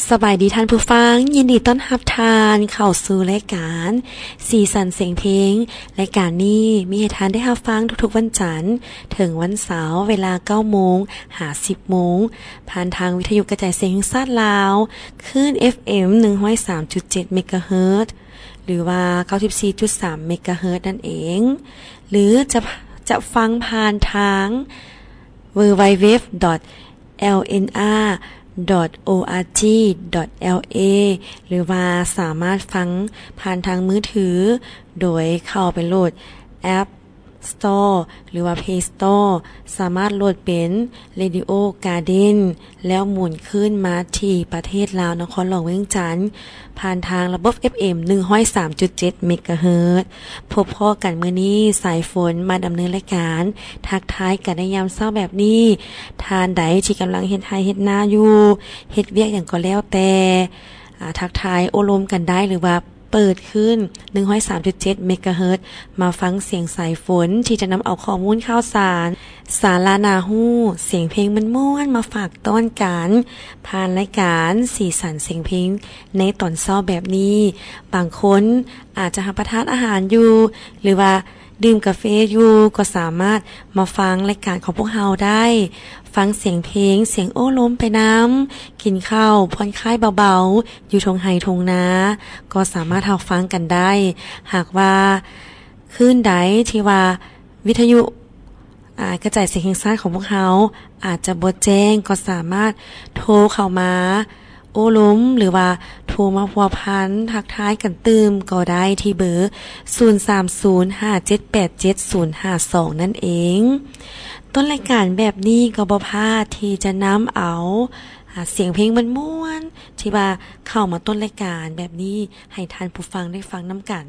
ສະບາຍດີທ່ານຜູ້ຟັງ, ຍິນດີຕ້ອນຮັບທ່ານເຂົ້າສູ່ລາຍການສີສັນສຽງເພງ. ລາຍການນີ້ມີໃຫ້ທ່ານໄດ້ຮັບຟັງທຸກໆວັນຈັນເຖິງວັນເສົາ ເວລາເກົ້າໂມງຫາສິບໂມງ ຜ່ານທາງວິທະຍຸກະຈາຍສຽງແຫ່ງຊາດລາວ ຄື້ນເອັຟເອັມໜຶ່ງຮ້ອຍສາມຈຸດເຈັດເມກະເຮີດ ຫຼືວ່າເກົ້າສິບສີ່ຈຸດສາມເມກະເຮີດນັ້ນເອງ ຫຼືຈະ ຈະຟັງຜ່ານທາງ ดัບເບິນຢູດັບເບິນຢູດັບເບິນຢູດັບເບິນຢູ ດອດ ແອລເອັນອາ ດອດ ໂອອາຈີ ດອດ ແອລເອ ຫຼືວ່າສາມາດຟັງຜ່ານທາງມືຖື ໂດຍເຂົ້າໄປໂຫຼດແອັບສະຕໍ ຫຼືວ່າເພລສະຕໍ ສາມາດໂຫຼດເປັນ ເຣດິໂອກາເດນ ແລ້ວໝູນຄື້ນມາທີ່ປະເທດລາວ ນະຄອນຫຼວງວຽງຈັນ ຜ່ານທາງລະບົບເອັຟເອັມໜຶ່ງຮ້ອຍສາມຈຸດເຈັດເມກະເຮີດ. ພົບພໍ້ກັນມື້ນີ້ ສາຍຝົນມາດຳເນີນລາຍການ ທັກທາຍກັນໃນຍາມເຊົ້າແບບນີ້. ທ່ານໃດທີ່ກຳລັງເຮັດໄຮ່ເຮັດນາຢູ່ ເຮັດວຽກຫຍັງກໍແລ້ວແຕ່ ອາ ທັກທາຍໂອ້ລົມກັນໄດ້ ຫຼືວ່າເປີດຄື້ນໜຶ່ງຮ້ອຍສາມຈຸດເຈັດເມກະເຮີດ ມາຟັງສຽງສາຍຝົນທີ່ຈະນຳເອົາຂໍ້ມູນຂ່າວສານ ສາລະໜ້າຮູ້ ສຽງເພງມ່ວນໆ ມາຝາກຕ້ອນກັນ ຜ່ານລາຍການສີສັນສຽງເພງໃນຕອນເຊົ້າແບບນີ້. ບາງຄົນອາດຈະຮັບປະທານອາຫານຢູ່ ຫຼືວ່າດື່ມກາເຟຢູ່ ກໍສາມາດມາຟັງລາຍການຂອງພວກເຮົາໄດ້. ຟັງສຽງເພງ, ສຽງໂອ້ລົມໄປນຳ, ກິນເຂົ້າຜ່ອນຄາຍເບົາໆ ຢູ່ທົ່ງໄຮ່ທົ່ງນາ ກໍສາມາດຮັບຟັງກັນໄດ້. ຫາກວ່າ ຄືນໃດທີ່ວ່າວິທະຍຸ ອາ ກະຈາຍສຽງແຫ່ງຊາດຂອງພວກເຮົາອາດຈະບໍ່ແຈ້ງ ກໍສາມາດໂທເຂົ້າມາໂອ້ລົມ ຫຼືວ່າໂທມາພົວພັນທັກທາຍກັນຕື່ມກໍໄດ້ທີ່ເບີ ສູນສາມສູນຫ້າເຈັດແປດເຈັດສູນຫ້າສອງນັ້ນເອງ. ຕົ້ນລາຍການແບບນີ້ກໍບໍ່ພາດທີ່ຈະນຳເອົາ ອາ ສຽງເພງມ່ວນໆ ທີ່ວ່າເຂົ້າມາຕົ້ນລາຍການແບບນີ້ ໃຫ້ທ່ານຜູ້ຟັງໄດ້ຟັງນຳກັນ.